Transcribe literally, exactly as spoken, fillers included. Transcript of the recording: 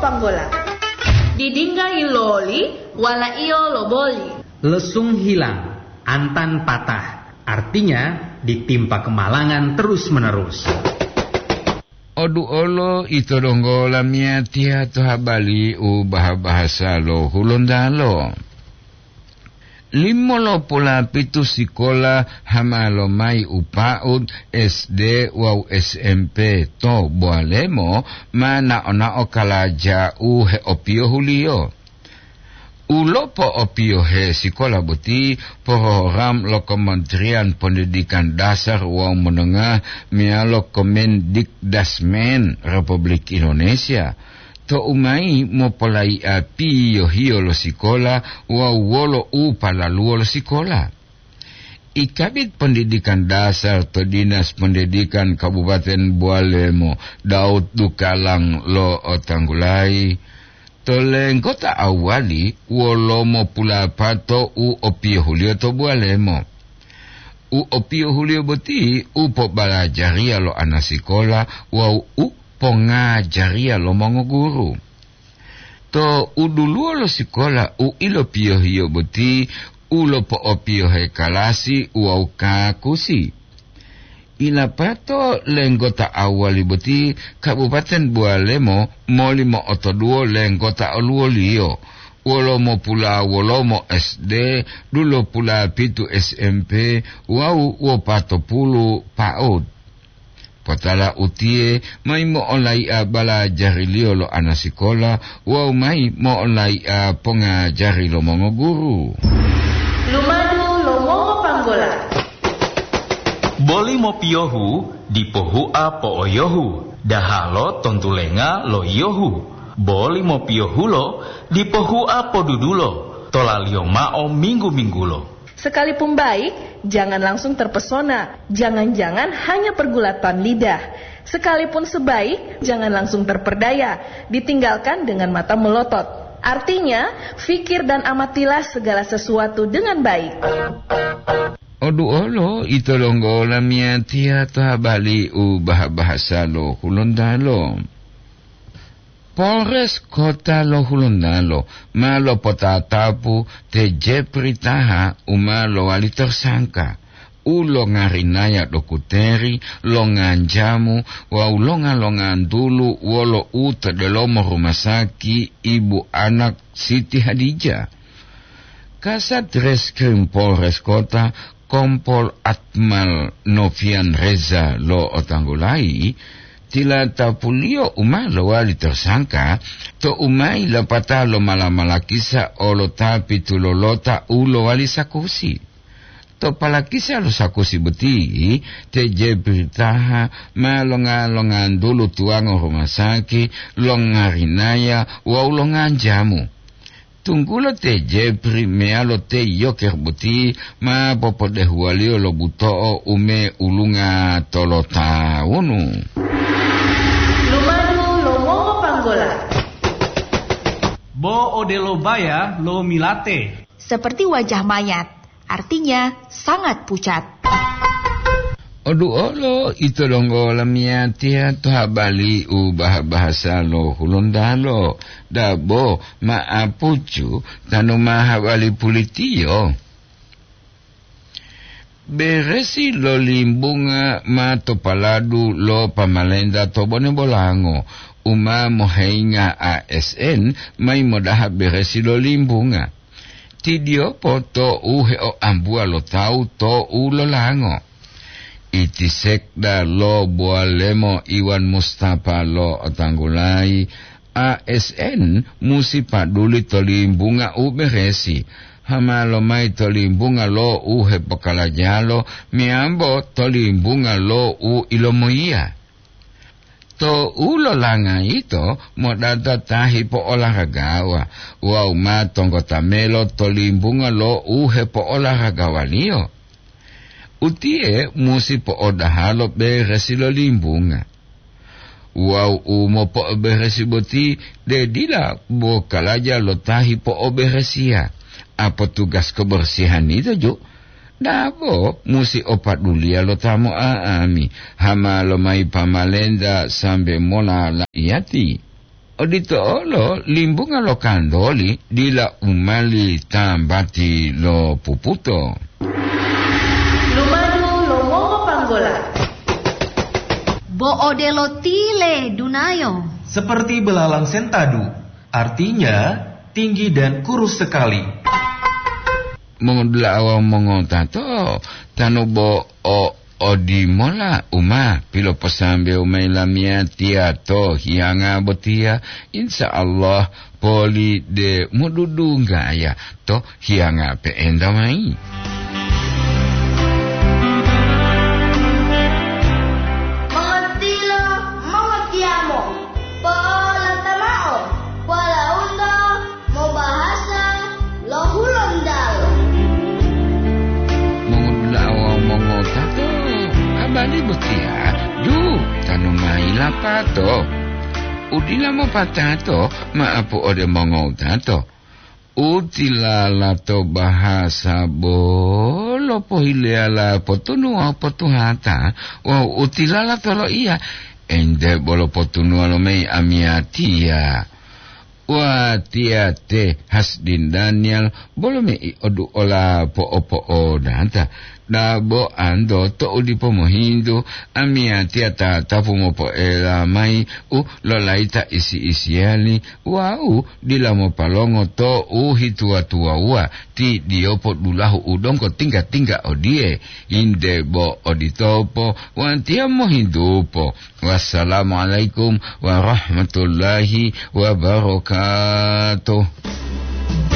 Panggola. Didingga iloli, walaiyo loboli. Lesung hilang, antan patah. Artinya, ditimpa kemalangan terus-menerus. Oduolo ito donggo lamiyatiya to habari u baha-bahasa lo Hulontalo. Limolopulapitu sikola hama lomayi u pa'ud S D wawu S M P to Boalemo ma nao-nao kalaja u heopiyohuliyo. U lopo'opiyohe sikola boti program lo Kementerian Pendidikan Dasar wawu Menengah meyalo Kemendikdasmen Republik Indonesia. Tou mayi mopolaiya piyohiyo lo sikola wawu wolo u palaluwo lo sikola. I Kabid Pendidikan Dasar to Dinas Pendidikan Kabupaten Boalemo, Daud Dukalang lo'otanggulayi, to lenggota awwali wolo mopulapato u opiyohuliyo to Boalemo. U opiyohuliyo boti u pobalajariya lo anasikola wawu u pongajariya lo mongoguru. To uduluwo lo sikola u ilopiyohiyo boti u lopo'opiyohe kalasi wawu kakusi. Ilapato lenggota awwali boti Kabupaten Boalemo moli mo'otoduwo lenggota oluwoliyo, wolo mopula wolomo S D, dulopula pitu S M P wawu wopatopulu pa'ud. Potala utiye mayi mo'olaiya balajariliyo lo anasikola wawu mayi mo'olaiya pongajari lo mongoguru. Lumadu lo mongopanggola. Boli mopiyohu dipo hua po'oyohu, dahalo tontulenga lo yiyohu. Boli mopiyohulo dipo hua podudulo, tolaliyo mao minggu-minggulo. Sekalipun baik, jangan langsung terpesona. Jangan-jangan hanya pergulatan lidah. Sekalipun sebaik, jangan langsung terperdaya. Ditinggalkan dengan mata melotot. Artinya, fikir dan amatilah segala sesuatu dengan baik. Oduolo ito donggo lamiyatiya to habari u baha-bahasa lo Hulontalo. Polres Kota lo Hulontalo ma lopotatapu te Jepri Taha u ma lowali tersangka, u longarinaya dokuteri, longanjamu wawu longa-longantulu wolo u to delomo rumah saki ibu anak Siti Hadijah. Kasat Reskrim Polres Kota, Kompol Akmal Novian Reza lo'otanggulayi, tilatapuliyo u ma lowali tersangka tou mayi lapatao lomala-malakisa olo ta pitulolota u lowali sakusi. To palakisa lo sakusi boti, te Jepri Taha ma longa-longantulu tuwango rumah saki, longarinaya wawu longanjamu. Tunggulo te Jepri meyalo te Yoker boti ma popodehuwaliyo lo buto'o u me ulunga tolotawunu. Lumadu lo mongopanggola. Bo odelo baya lo milate. Seperti wajah mayat, artinya sangat pucat. Oduolo ito donggo lamiyatiya to habari u baha-bahasa lo Hulontalo, dabo ma'apucu tanu ma habari pulitiyo. Beresi lo limbunga ma to paladu lo pamalenta to Bone Bolango, u ma moheyinga A S N mayi modaha beresi lo limbunga. Tidiyopo to u heoambuwa lo tawu to u lolango. Iti sekda lo Boalemo Iwan Mustafa lo'otanggulayi, A S N musi paduli to limbunga u beresi, hama lomayi to limbunga lo u hepokalajalo meyambo to limbunga lo u ilomoyiya. To u lolanga yito modata ta hipo'olaragawa wawu ma tonggota melo to limbunga lo u hepo'olaragawaliyo. Utiye musi po'odaha lo beresi lo limbunga. Wawu u mopo'oberesi boti de dila bo kalaja lo ta hipo'oberesiya, a potugas kebersihan yito ju. Dabo musi o paduliya lo ta mo'a'ami, hama lomayi pamalenta sambe mola la'iyati. Odito olo limbunga lo kandoli dila u mali tambati lo puputo. Lumadu lo mongopanggola. Bo odelo tile dunayo. Seperti belalang sentadu, artinya tinggi dan kurus sekali. Mongodula'a wawu mongotato, tanu bo o odimola u ma piloposambewo mayi lamiyatiya to hiyanga botiya, insya Allah poli de modudunggaya to hiyanga pe'enta mayi. Mongotilo, mongotiyamo, po'olata mao, walaundo mobahasa lo Hulontalo. Mongodula'a wawu mongotato, abali botiya ju tanu mayi lapato. Udila mopatato ma'apu ode mongotato. Utilala to bahasa bolo pohileyala potunu wawu potuhata, wawu utilala to loiya, ente bolo potunuwa lomeyi amiyatiya. Watiya te Hasdin Daniel bolo me'i oduola po'opo'odata. Dabo anto to'u dipo mohintu, amiyatiya tatapu mopo'ela mayi u lolayita isi-isiyali wawu dila mopalongo to'u hituwa-tuwawuwa ti diyopo dulahu u donggo tingga-tingga odiye, inde bo oditopo watiya mohintupo. Wassalamualaikum warahmatullahi wabarakatuh.